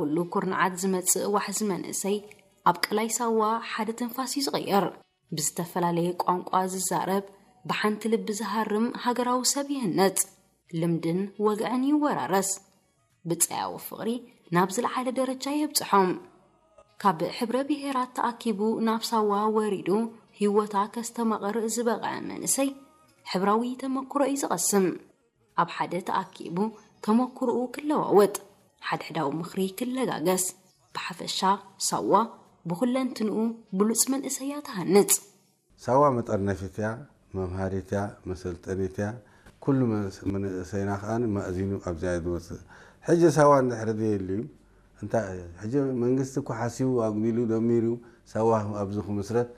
ኩሉ ኩርንዓት ዝመጽእ ዋሕዚ መንእሰይ ኣብ ቀላይ ሳዋ ሓደ ትንፋስ እዩ ዝቕየር። ብዝተፈላለየ ቋንቋ ዝዛረብ፣ ብሓንቲ ልቢ ዝሃርም ሃገራዊ ሰብ ይህነጽ። ልምድን ወግዕን ይወራረስ። ብጸያዊ ፍቕሪ ናብ ዝለዓለ ደረጃ የብጽሖም። ካብ ሕብረ ብሄራት ተኣኪቡ ናብ ሳዋ ወሪዱ ህይወታ ከስተማቕር ዝበቕዐ መንእሰይ ሕብራዊ ተመክሮ እዩ ዝቐስም። ኣብ ሓደ ተኣኪቡ ተመክሮኡ ክለዋወጥ፣ ሓድሕዳዊ ምኽሪ ክለጋገስ፣ ብሓፈሻ ሳዋ ብኹለንትንኡ ብሉጽ መንእሰያ ትሃንጽ። ሳዋ መጠርነፊት እያ፣ መምሃሪት እያ፣ መሰልጠኒት እያ። ኩሉ መንእሰይና ከዓ ማእዚኑ ኣብዚኣ ዝወፅእ። ሕጂ ሳዋ እንድሕር ዘየልዩ እንታይ ሕጂ መንግስቲ እኮ ሓሲቡ ኣጉዲሉ ደሚሩ ሳዋ ኣብዚ ክምስረት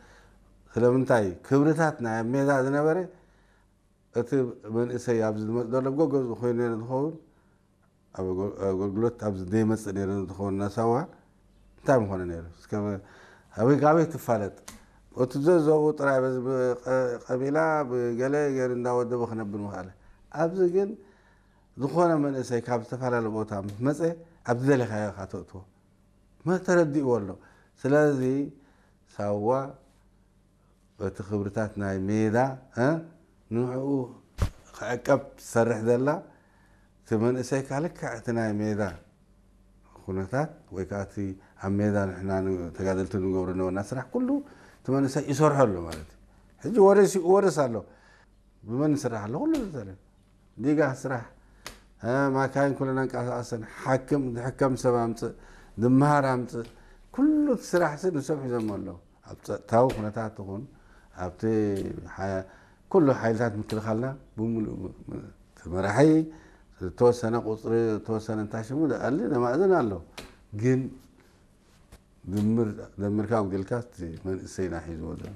ስለምንታይ ክብርታት ናይ ኣብ ሜዳ ዝነበረ እቲ መንእሰይ ኣብዚ ዝመፅ ዘሎ ጎገዝ ኮይኑ ነረ ዝኸውን ኣብ ኣገልግሎት ኣብዚ ዘይመፅእ ነረ ዝኸውን ናሳዋ እንታይ ምኾነ ነይሩ? ኣበይ ካበይ ትፋለጥ? እቲ ዘዘብኡ ጥራይ በዚ ቀቢላ ብገለ ገር እንዳወደበ ክነብር ምኽኣለ። ኣብዚ ግን ዝኾነ መንእሰይ ካብ ዝተፈላለየ ቦታ ምስ መፀ ኣብ ዝደለኻዮ ኢኻ ተእትዎ። ተረዲእዎ ኣሎ። ስለዚ ሳዋ በቲ ክብርታት ናይ ሜዳ ንዕኡ ክዕቀብ ትሰርሕ ዘላ እቲ መንእሰይካ ልክዕ እቲ ናይ ሜዳ ኩነታት ወይ ከዓ እቲ ኣብ ሜዳ ንሕና ተጋደልቲ ንገብሮ ነበርና ስራሕ ኩሉ እቲ መንእሰይ ይሰርሖ ኣሎ ማለት እዩ። ሕጂ ወርስ ይወርስ ኣሎ። ብመን ይስራሕ ኣሎ? ኩሉ ዝተለ ዲጋ ስራሕ ማካይን ኩለን ኣንቀሳቀሰን ሓክም ዝሕከም ሰብ ኣምፅእ ዝመሃር ኣምፅእ ኩሉ እቲ ስራሕ ሲ ንሶም ሒዞም ኣለዉ። ኣብ ፀጥታዊ ኩነታት ትኹን ኣብቲ ኩሉ ሓይልታት ምክልኻልና ብምሉእ ተመራሒ ዝተወሰነ ቁፅሪ ዝተወሰነ እንታይ ሽሙ ኣሊ ነማእዝን ኣሎ። ግን ድምር ደምርካ ኣጉዲልካ እቲ መንእሰይና ሒዝዎ ዘሎ